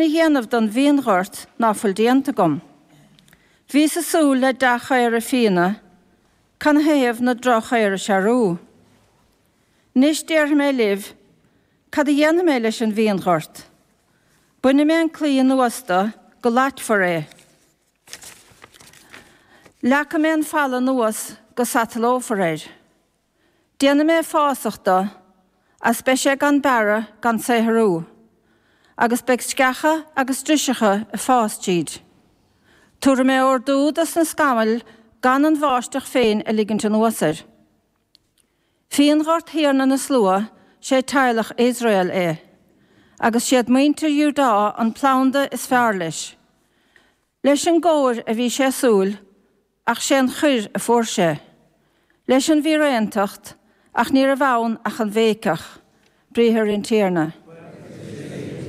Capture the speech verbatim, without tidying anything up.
a dhéanamh don bhfíonghort ná fuil déanta agam? Bhíos ag súil le dea-chaora fíona, canathaobh na droch-chaora searbha? Anois déarfaidh mé libh, cad a dhéanfaidh mé leis an bhfíonghort? Bainfidh mé an claí anuas de go loitfear é. Leagfaidh mé an falla anuas go satalófar air. Déanfaidh mé fásach de, agus beidh sé gan bearradh gan saothrú, agus beidh sceacha agus driseacha ag fás tríd. Tabharfaidh mé ordú dos na scamaill gan an bháisteach féin a ligint anuas air. Fíonghort Thiarna na Slua, sé teaghlach Iosrael é, agus siad muintir Iúdá an planda is fearr leis. Leis an gcóir a bhí sé ag súil, ach sé an choir a fuair sé. Leis an bhfíréantacht, ach ní raibh ann ach an bhéiceach, briathar an Tiarna.